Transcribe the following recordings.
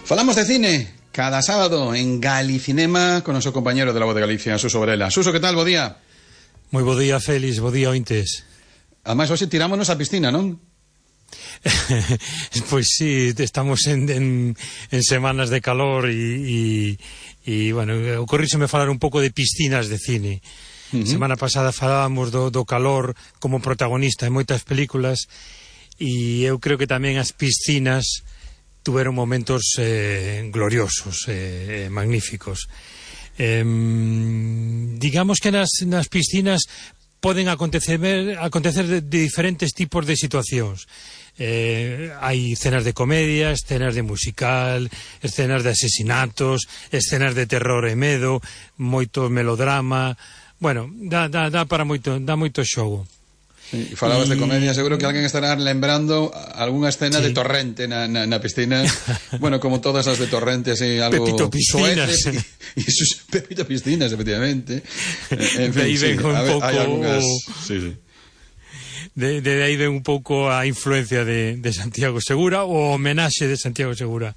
Falamos de cine cada sábado en Galicinema con noso compañero de La Voz de Galicia, Suso Varela. Suso, que tal? Bo día. Moi bo día, Félix, bo día, ointes. Ademais, hoxe tirámonos á piscina, non? Pois sí, estamos en semanas de calor e bueno, ocorríseme falar un pouco de piscinas de cine. Semana pasada falábamos do calor como protagonista en moitas películas e eu creo que tamén as piscinas tuveron momentos gloriosos, magníficos. Digamos que nas piscinas poden acontecer de diferentes tipos de situacións. Hai escenas de comedia, escenas de musical, escenas de asesinatos, escenas de terror e medo, moito melodrama. Bueno, dá para moito, dá moito xogo. E falabas de comedia, seguro que alguén estará lembrando algunha escena de Torrente na piscina. Bueno, como todas as de Torrente, así, algo Pepito Piscinas. Pepito Piscinas, efectivamente. En fin, sí, hai algunhas... Sí. De aí ven un pouco a influencia de Santiago Segura, o homenaxe de Santiago Segura.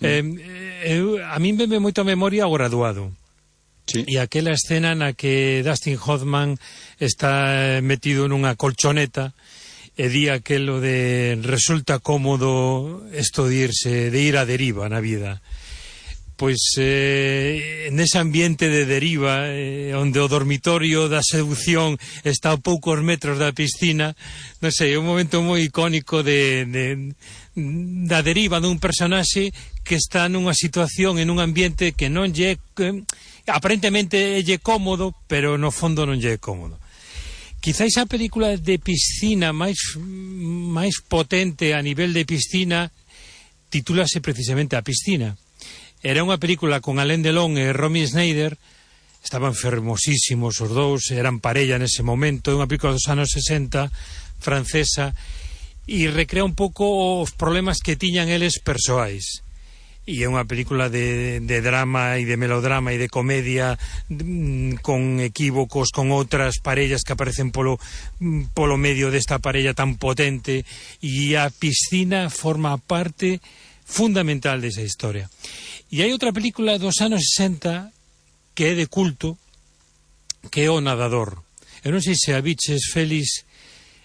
A min veme moito a memoria o Graduado. Sí. E aquela escena na que Dustin Hoffman está metido nunha colchoneta e di aquelo de resulta cómodo esto de ir a deriva na vida. Pois nese ambiente de deriva onde o dormitorio da seducción está a poucos metros da piscina, non sei, é un momento moi icónico da deriva dun personaxe que está nunha situación en un ambiente que non lle aparentemente lle cómodo, pero no fondo non lle é cómodo. Quizáis a película de piscina máis potente a nivel de piscina titúlase precisamente A Piscina. Era unha película con Alain Delon e Romy Schneider, estaban fermosísimos os dous, eran parella nese momento, é unha película dos anos 60 francesa e recrea un pouco os problemas que tiñan eles persoais. E é unha película de drama e de melodrama e de comedia con equívocos con outras parellas que aparecen polo medio desta parella tan potente, e a piscina forma parte fundamental desa historia. E hai outra película dos anos 60 que é de culto, que é O Nadador. Eu non sei se a biches, Félix,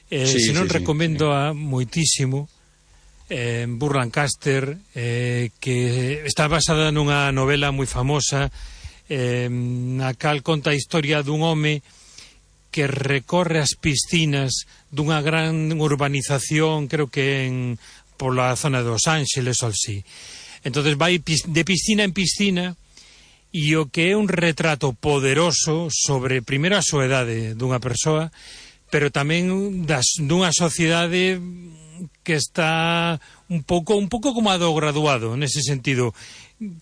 se non recomendo a moitísimo. Burt Lancaster, que está basada nunha novela moi famosa, na cal conta a historia dun home que recorre as piscinas dunha gran urbanización, creo que pola zona de Los Ángeles ou así. Entonces vai de piscina en piscina, e o que é un retrato poderoso sobre, primeiro, a soedade dunha persoa, pero tamén dunha sociedade que está un pouco como a do Graduado, nese sentido,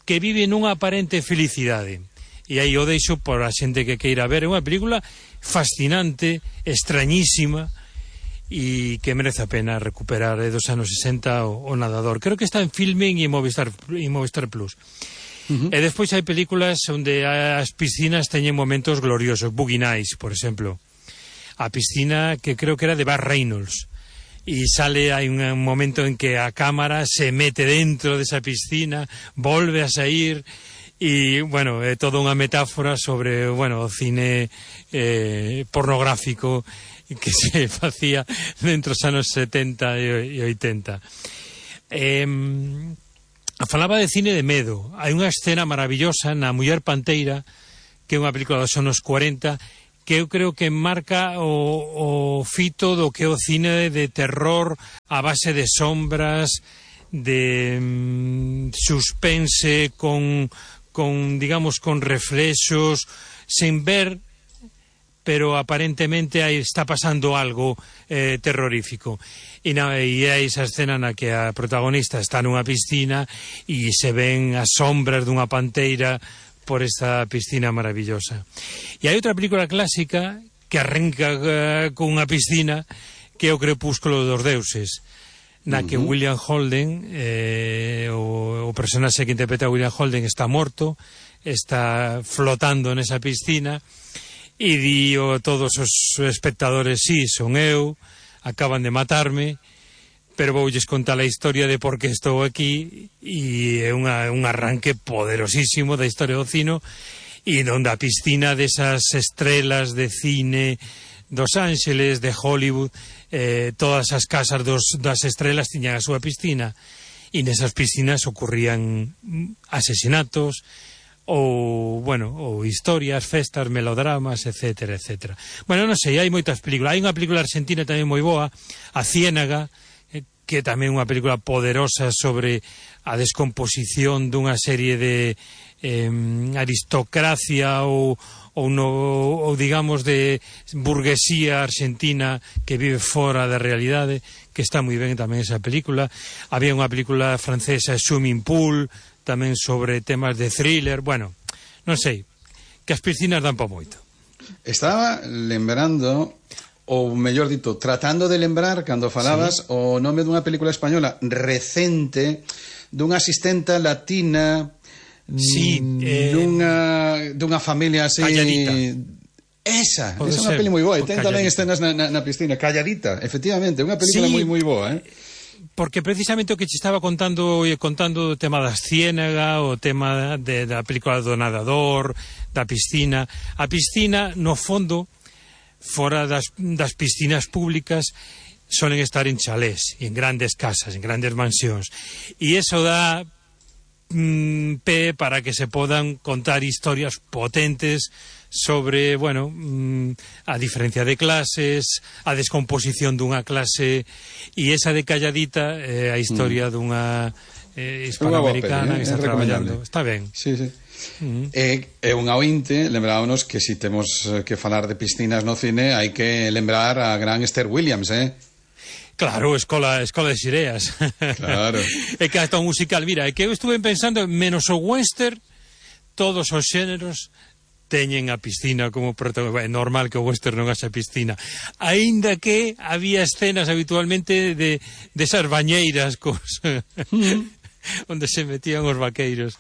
que vive nunha aparente felicidade. E aí o deixo por a xente que queira ver. É unha película fascinante, extrañísima, e que merece a pena recuperar dos anos 60 o Nadador. Creo que está en Filmin e Movistar Plus. E despois hai películas onde as piscinas teñen momentos gloriosos. Boogie Nights, por exemplo. A piscina que creo que era de Burt Reynolds. E hai un momento en que a cámara se mete dentro desa piscina, volve a sair, e, bueno, é toda unha metáfora sobre, bueno, o cine pornográfico que se facía dentro dos anos 70 e 80. Falaba de cine de medo. Hai unha escena maravillosa na Muller Panteira, que é unha película dos anos 40, que eu creo que marca o fito do que é o cine de terror a base de sombras, de suspense, con digamos, con reflexos, sen ver, pero aparentemente aí está pasando algo terrorífico. E é esa escena na que a protagonista está nunha piscina e se ven as sombras dunha panteira por esta piscina maravillosa. E hai outra película clásica que arranca con unha piscina, que é O Crepúsculo dos Deuses, na que William Holden, o personaxe que interpreta a William Holden, está morto, está flotando nesa piscina, e di a todos os espectadores: sí, son eu, acaban de matarme, pero voulles contar a historia de por que estou aquí, e é un arranque poderosísimo da historia do cine, e onde a piscina desas estrelas de cine dos Ángeles, de Hollywood, todas as casas das estrelas tiñan a súa piscina, e nesas piscinas ocurrían asesinatos, ou historias, festas, melodramas, etcétera, etcétera. Bueno, non sei, hai moitas películas. Hai unha película argentina tamén moi boa, A Ciénaga, que tamén é unha película poderosa sobre a descomposición dunha serie de aristocracia ou digamos de burguesía argentina que vive fora da realidade, que está moi ben tamén esa película. Había unha película francesa, Swimming Pool, tamén sobre temas de thriller. Bueno, non sei, que as piscinas dan pa moito. Estaba lembrando, ou mellor dito, tratando de lembrar, cando falabas, o nome dunha película española recente, dunha asistenta latina, dunha familia así... Calladita. Esa é unha peli moi boa, e ten tamén escenas na piscina. Calladita, efectivamente, unha película moi boa, porque precisamente o que te estaba contando o tema das Ciénaga, o tema da película do nadador, da piscina. A piscina, no fondo, fora das piscinas públicas, solen estar en chalés, en grandes casas, en grandes mansións, e iso dá pé para que se podan contar historias potentes sobre, a diferencia de clases, a descomposición dunha clase, e esa de Calladita, a historia dunha hispanoamericana que está traballando. Está ben. Sí. É unha ointe, lembrámonos que si temos que falar de piscinas no cine, hai que lembrar a gran Esther Williams, Claro, escola de Xireas. Claro. É que hasta un musical, mira, é que eu estuve pensando, menos o western, todos os xéneros teñen a piscina como protagonista. É normal que o western non haxa piscina, aínda que había escenas habitualmente de esas bañeiras onde se metían os vaqueiros.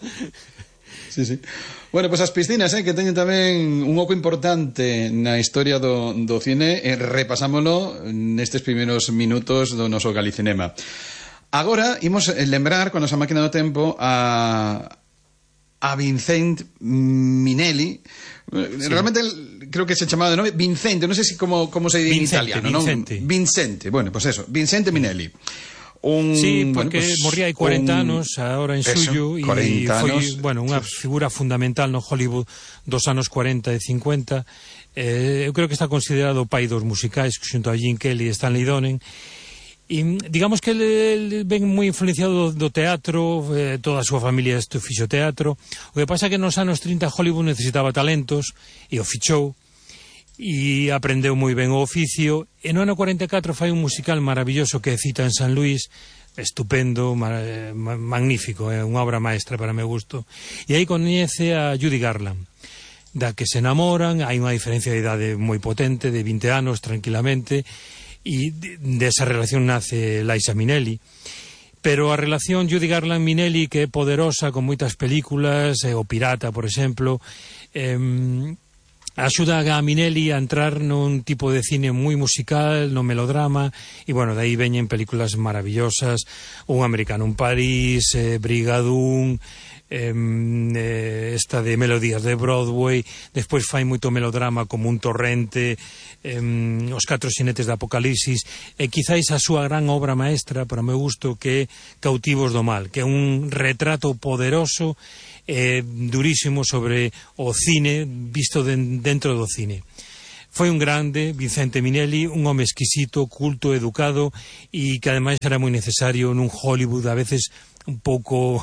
Sí. Bueno, pois as piscinas, que teñen tamén un oco importante na historia do cine, repasámolo nestes primeiros minutos do noso Galicinema. Agora imos lembrar con a nosa máquina do tempo a Vincent Minnelli. Realmente creo que se chamaba de nome Vincente, non sei como se di en italiano, non? Vincente, bueno, pois eso, Vincente Minnelli. Porque morría hai 40 anos agora en xullo, e foi unha figura fundamental no Hollywood dos anos 40 e 50. Eu creo que está considerado o pai dos musicais xunto a Gene Kelly e Stanley Donen, e digamos que ele ven moi influenciado do teatro, toda a súa familia fixo teatro. O que pasa é que nos anos 30 Hollywood necesitaba talentos e o fichou, e aprendeu moi ben o oficio, e no ano 44 fai un musical maravilloso que é Cita en San Luis, estupendo, magnífico, é unha obra maestra para meu gusto, e aí coñece a Judy Garland, da que se enamoran. Hai unha diferencia de idade moi potente, de 20 anos tranquilamente, e desa relación nace Liza Minnelli. Pero a relación Judy Garland-Minnelli, que é poderosa, con moitas películas, o Pirata, por exemplo, axuda a Minnelli a entrar nun tipo de cine moi musical, no melodrama, e de aí veñen películas maravillosas, Un americano en París, Brigadoon, esta de Melodías de Broadway. Despois fai moito melodrama como Un torrente, Os catro xinetes de Apocalipsis, e quizáis a súa gran obra maestra, para o meu gusto, que é Cautivos do mal, que é un retrato poderoso, durísimo sobre o cine visto dentro do cine. Foi un grande, Vincente Minnelli, un home exquisito, culto, educado, e que ademais era moi necesario nun Hollywood a veces un pouco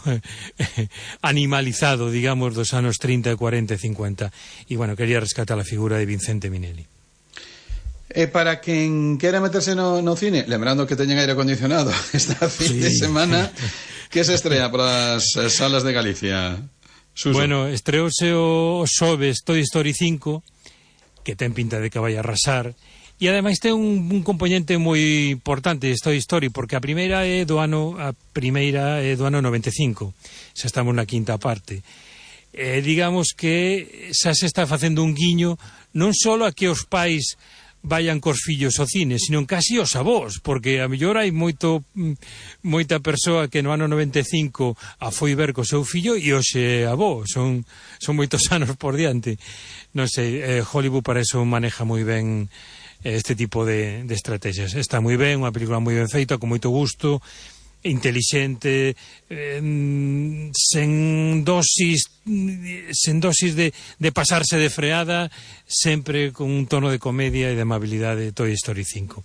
animalizado, digamos, dos anos 30, 40 e 50. E quería rescatar a figura de Vincente Minnelli. E para quen quera meterse no cine, lembrando que teñen aire acondicionado esta fin de semana, que se estrena para as salas de Galicia? Suso. Estreouse o xoves Toy Story 5, que ten pinta de que vai a arrasar, e ademais ten un componente moi importante de Toy Story, porque a primeira é do ano 95, xa estamos na quinta parte. Digamos que xa se está facendo un guiño non só a que os pais vayan cos fillos ao cine, sino casi os avós, porque a mellor hai moita persoa que no ano 95 a foi ver co seu fillo e hoxe avó, son moitos anos por diante. Non sei, Hollywood para eso maneja moi ben este tipo de estrategias. Está moi ben, unha película moi ben feita, con moito gusto, intelixente, sen dosis de pasarse de freada, sempre con un tono de comedia e de amabilidade. Toy Story 5.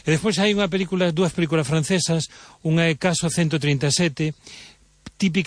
E despois hai dúas películas francesas, unha é Caso 137, típica